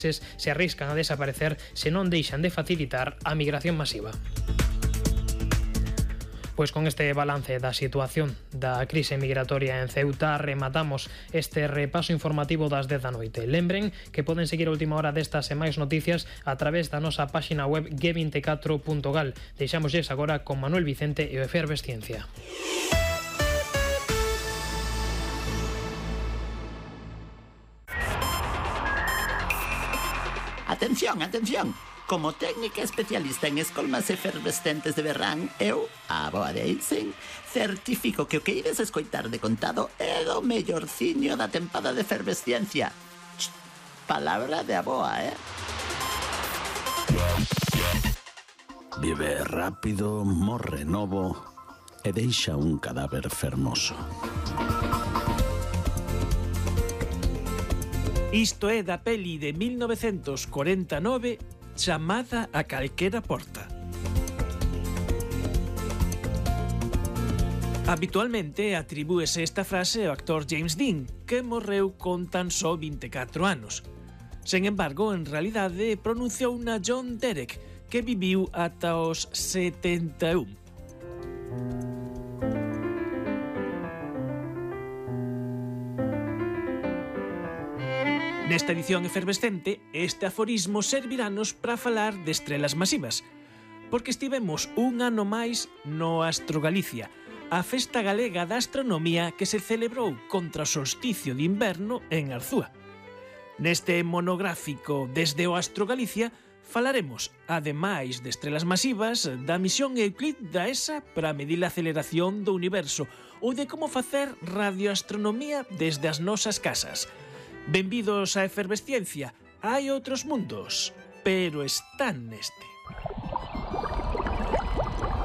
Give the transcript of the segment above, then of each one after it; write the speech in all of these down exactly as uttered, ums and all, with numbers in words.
se arriscan a desaparecer se non deixan de facilitar a migración masiva. Pois con este balance da situación da crise migratoria en Ceuta rematamos este repaso informativo das dez da noite. Lembren que poden seguir a última hora destas e máis noticias a través da nosa páxina web ge vinte e catro punto gal. Deixámoslles agora con Manuel Vicente e o Efervesciencia. Atención, atención! Como técnica especialista en escolmas efervescentes de verán, eu, a Aboa de Eisen, certifico que o que ides escoitar de contado é o mellorciño da tempada de efervesciencia. Ch, palabra de Aboa, eh? Vive rápido, morre novo e deixa un cadáver fermoso. Isto é da peli de mil novecentos corenta e nove chamada A calquera porta. Habitualmente atribúese esta frase ao actor James Dean, que morreu con tan só vinte e catro anos. Sen embargo, en realidade, pronunciou na John Derek, que viviu ata os setenta e un. Nesta edición efervescente, este aforismo serviranos para falar de estrelas masivas, porque estivemos un ano máis no Astro Galicia, a festa galega da astronomía que se celebrou contra o solsticio de inverno en Arzúa. Neste monográfico desde o Astro Galicia falaremos, ademais de estrelas masivas, da misión Euclid da E S A para medir a aceleración do universo ou de como facer radioastronomía desde as nosas casas. Benvidos á efervesciencia. Hai outros mundos, pero están neste.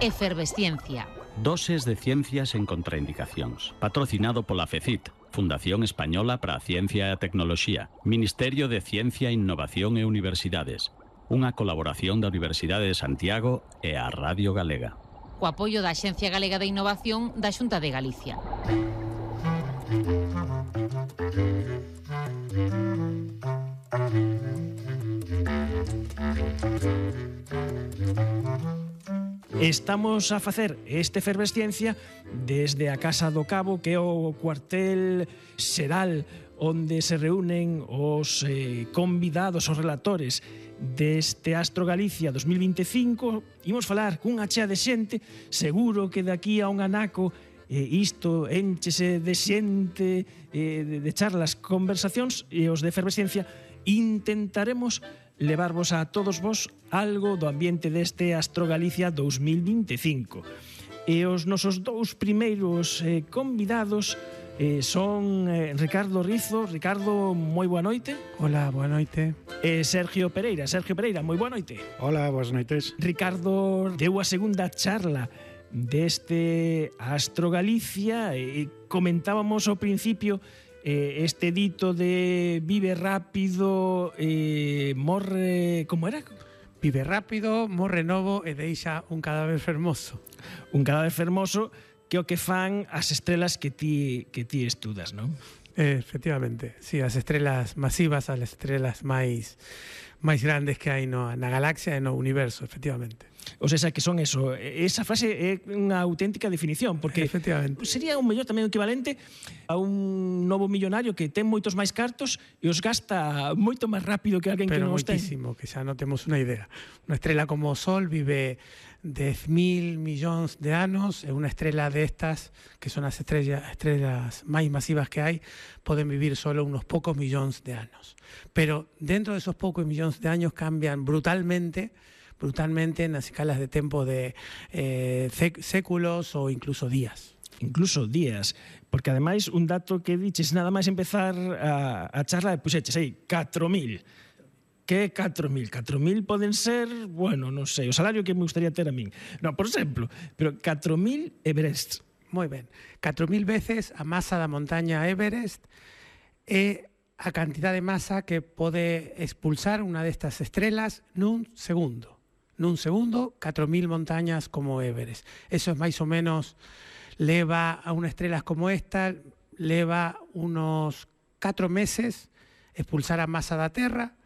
Efervesciencia. Doses de ciencias en contraindicacións. Patrocinado pola FECIT, Fundación Española para a Ciencia e a Tecnoloxía, Ministerio de Ciencia, Innovación e Universidades. Unha colaboración da Universidade de Santiago e a Radio Galega. Co apoio da Axencia Galega de Innovación da Xunta de Galicia. Estamos a facer esta efervesciencia desde a Casa do Cabo, que é o cuartel xeral onde se reúnen os eh, convidados, os relatores deste Astro Galicia dos mil vinte e cinco. Imos falar cunha chea de xente, seguro que daqui a un anaco eh, isto enchese de xente, eh, de, de charlas, conversacións, e os de efervesciencia intentaremos levarvos a todos vos algo do ambiente deste Astro Galicia dos mil vinte e cinco. E os nosos dous primeiros eh, convidados eh, son eh, Ricardo Rizo. Ricardo, moi boa noite. Hola, boa noite. E Sergio Pereira. Sergio Pereira, moi boa noite. Hola, boas noites. Ricardo deu a segunda charla deste Astro Galicia e comentábamos ao principio Eh, este dito de vive rápido, eh, morre... Como era? Vive rápido, morre novo e deixa un cadáver fermoso. Un cadáver fermoso que o que fan as estrelas que ti, que ti estudas, non? Eh, efectivamente, sí, as estrelas masivas, as estrelas máis máis grandes que hai no, na galaxia e no universo, efectivamente. O sea, que son eso. Esa frase é unha auténtica definición, porque sería un mellor tamén equivalente a un novo millonario que ten moitos máis cartos e os gasta moito máis rápido que alguén que non os ten. Pero moitísimo, que xa non temos unha idea. Unha estrela como o Sol vive dez mil millóns de anos, e unha estrela destas, que son as estrellas, estrellas máis masivas que hai, poden vivir solo unos pocos millóns de anos. Pero dentro de esos pocos millóns de años cambian brutalmente brutalmente nas escalas de tempo de eh, séculos ou incluso días. Incluso días, porque ademais un dato que diches nada máis empezar a, a charla de puxeches aí, catro mil. Que catro mil? catro mil poden ser, bueno, non sei, o salario que me gustaría ter a min. Non, por exemplo, pero catro mil Everest. Moi ben, catro mil veces a masa da montaña Everest é a cantidad de masa que pode expulsar unha destas estrelas nun segundo. Nun segundo, catro mil montañas como Everest. Eso es máis ou menos, leva a unha estrela como esta, leva unos catro meses expulsar a masa da Terra,